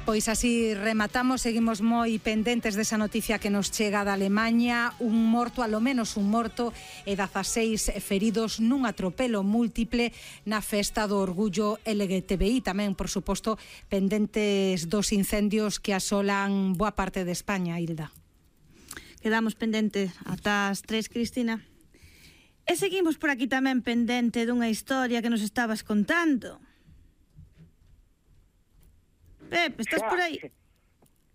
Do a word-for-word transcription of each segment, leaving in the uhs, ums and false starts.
Pois así rematamos, seguimos moi pendentes desa noticia que nos chega da Alemaña. Un morto, alo menos un morto, e dezaseis feridos nun atropelo múltiple na festa do orgullo L G T B I. Tamén, por suposto, pendentes dos incendios que asolan boa parte de España, Hilda. Quedamos pendentes ata as tres, Cristina. E seguimos por aquí tamén pendente dunha historia que nos estabas contando. Pepe, estás xa, por aí?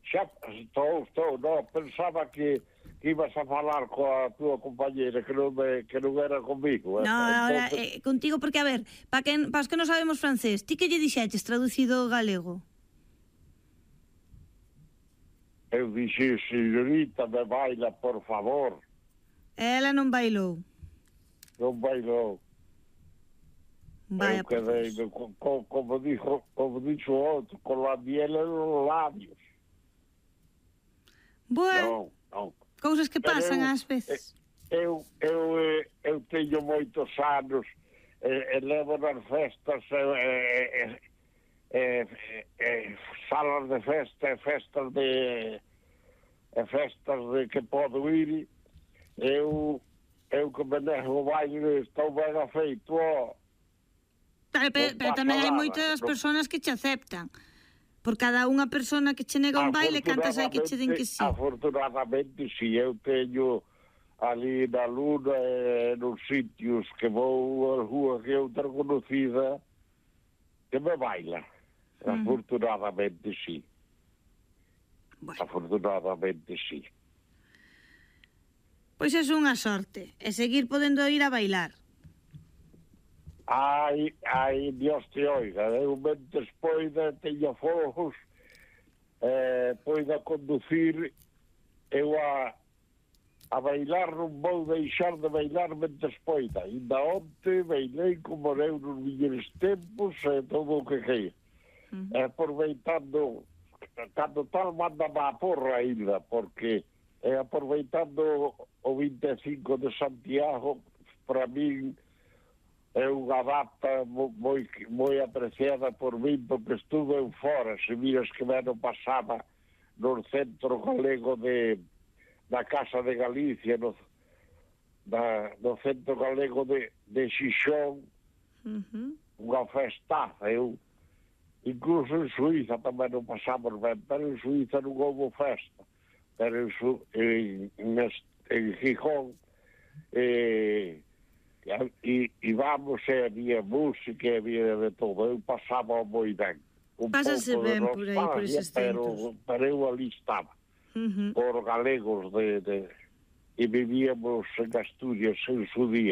Xa, estou, estou, no, pensaba que, que ibas a falar coa túa compañera, que non, me, que non era comigo. No, eh? ahora, Entonces, eh, contigo, porque, a ver, para que, pa os que non sabemos francés, ti que lle dixeches traducido ao galego? eu dixi, señorita, me baila, por favor. Ela non bailou. Non bailou. Vaya Eu quedei, por como, como dixo, como dixo outro, con la miel en los labios. Bueno, Non, non. cousas que Pero pasan eu, ás veces. Eu, eu, eu, eu teño moitos anos, e, e levo nas festas, e, e, e, e, salas de festa, e festas de, e festas de que podo ir, eu, eu que me nego o baile, estou ben afeito, ó. Pero, pero, pero tamén hai moitas persoas que che aceptan. Por cada unha persona que che nega un baile, cantas hai que che den que sí. Afortunadamente, si, eu teño ali na Luna e nos sitios que vou a rúa que é outra conocida que me baila. Mm. Afortunadamente, si. Bueno. Afortunadamente, si. Pois é unha sorte. E seguir podendo ir a bailar. Ai, ai, Dios te oiga, eu mentes poida, teño fogos, eh, poida conducir, eu a, a bailar non vou deixar de bailar mentes poida. Ainda onte bailei como eu nos millores tempos e todo o que queira. Uh -huh. E aproveitando, cando tal manda má porra ainda, porque é aproveitando o vinte e cinco de Santiago, para min é unha data moi, moi apreciada por min, porque estuve en fora. Se miras que me ano pasaba no centro galego de da Casa de Galicia, no, da, no centro galego de, de Xixón, uh -huh. unha festaza. Eu, incluso en Suiza tamén non pasamos ben, pero en Suiza non houve festa. Pero en, en, en, en Gijón, eh, E, e vamos, e había música, e había de todo. Eu pasaba moi ben. Un Pásase ben por aí, por eses centros. Pero, pero eu ali estaba. Uh -huh. Por galegos de, de... E vivíamos en Asturias en su día.